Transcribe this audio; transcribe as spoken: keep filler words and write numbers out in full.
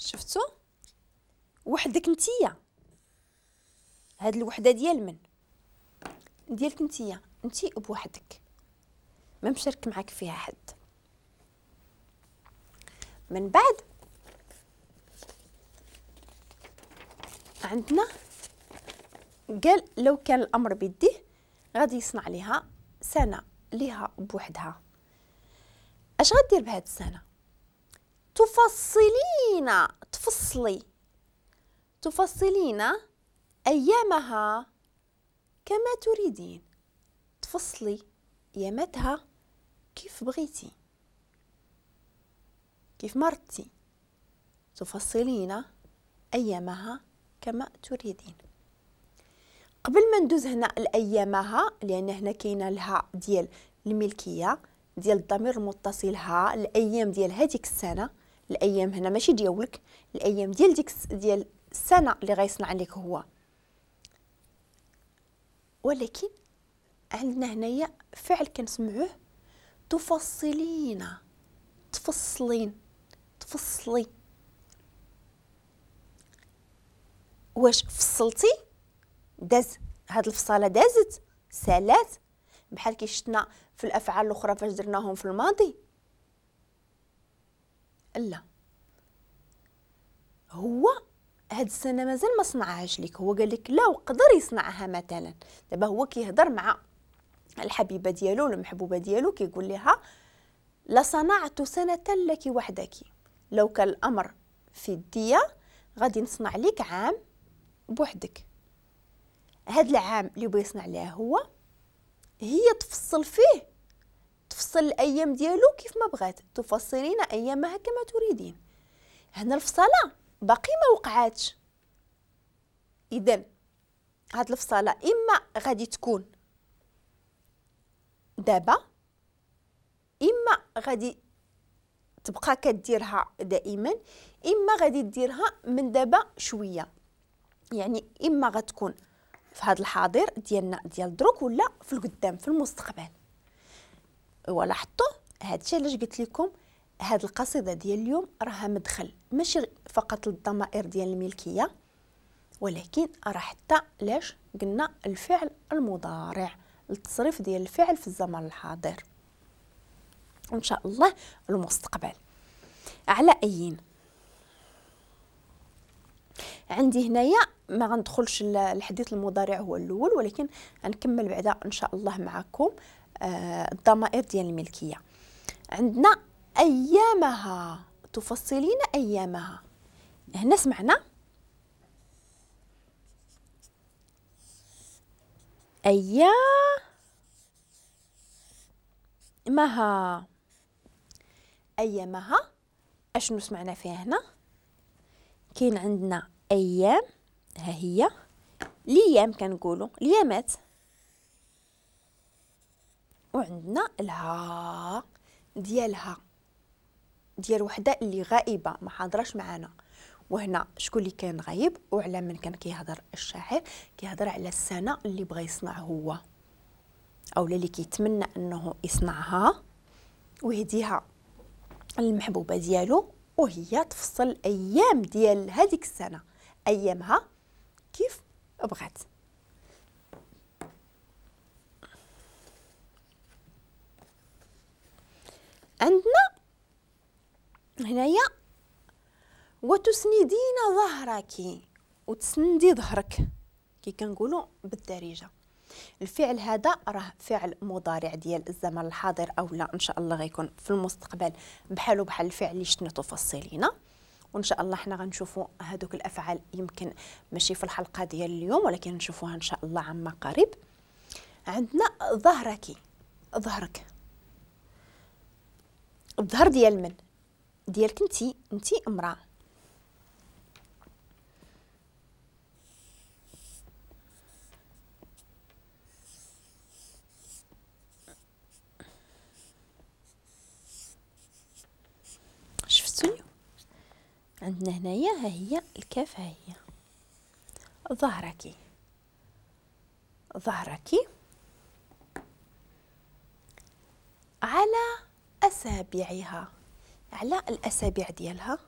شفتو وحدك نتيا، هاد الوحدة ديال من؟ ديالك نتيا، انتي بوحدك، ما مشارك معاك فيها حد. من بعد عندنا قال لو كان الامر بيديه غادي يصنع لها سنة ليها بوحدها. اش غدير بهاد السنة؟ تفصلين، تفصلي، تفصلين ايامها كما تريدين، تفصلي اياماتها كيف بغيتي، كيف مرتي، تفصلين ايامها كما تريدين. قبل ما ندوز هنا لايامها، لان هنا كاينه لها ديال الملكية ديال الضمير المتصل ها، الايام ديال هذيك السنة، الايام هنا ماشي ديالك، الايام ديال ديك ديال السنة اللي غيصنع لك هو. ولكن عندنا هنايا فعل كنسمعوه تفصلين، تفصلين، تفصلي. واش فصلتي؟ داز هاد الفصاله، دازت، سالات، بحال كي شفنا في الافعال الاخرى فاش درناهم في الماضي. لا، هو هاد السنة مازال ما صنعهاش لك، هو قال لك لا وقدر يصنعها مثلا. دابا هو كيهضر مع الحبيبة ديالو ولا المحبوبة ديالو، كيقول لها لصنعت سنة لك وحدك، لو كان الامر في يديا غادي نصنع لك عام بوحدك. هاد العام اللي بغى يصنع لها هو، هي تفصل فيه، تفصل الايام ديالو كيف ما بغات، تفصلين ايامها كما تريدين. هنا الفصاله باقي ما وقعاتش، اذا هاد الفصاله اما غادي تكون دابا، اما غادي تبقى كديرها دائما، اما غادي ديرها من دابا شوية. يعني اما غتكون في هذا الحاضر ديالنا ديال دروك، ولا في القدام في المستقبل. ولاحظتوا هادشي علاش قلت لكم هاد القصيدة ديال اليوم راها مدخل ماشي فقط للضمائر ديال الملكية، ولكن راه حتى لاش قلنا الفعل المضارع، التصريف ديال الفعل في الزمن الحاضر وان شاء الله المستقبل. على ايين عندي هنايا ما غندخلش الحديث المضارع هو الاول، ولكن غنكمل بعدا ان شاء الله معكم آه الضمائر ديال الملكية. عندنا ايامها، تفصلين ايامها. هنا سمعنا ايامها، ايامها اشنو سمعنا فيها هنا؟ كاين عندنا ايام، ها هي ليام كنقولوا ليامات، وعندنا الها ديالها ديال وحده اللي غائبة ما حاضراش معانا. وهنا شكون اللي كان غايب وعلى من كان كيهضر الشاعر؟ كيهضر على السنة اللي بغى يصنع هو، او اللي كيتمنى انه يصنعها ويهديها المحبوبة ديالو، وهي تفصل ايام ديال هذيك السنة، ايامها كيف بغات. عندنا هنايا وتسندين ظهرك، وتسندي ظهرك كي كنقولوا بالدارجة. الفعل هذا راه فعل مضارع ديال الزمن الحاضر او لا ان شاء الله غيكون في المستقبل بحالو بحال الفعل اللي شفنا تفصلينا، وان شاء الله حنا غنشوفوا هذوك الافعال يمكن ماشي في الحلقة ديال اليوم، ولكن نشوفوها ان شاء الله عما قريب. عندنا ظهرك، ظهرك الظهر ديال من؟ ديالك انتي، انتي امراة. شفتوا عندنا هنايا ها هي الكاف، ها هي ظهرك، ظهرك على أسابيعها، على الأسابيع ديالها.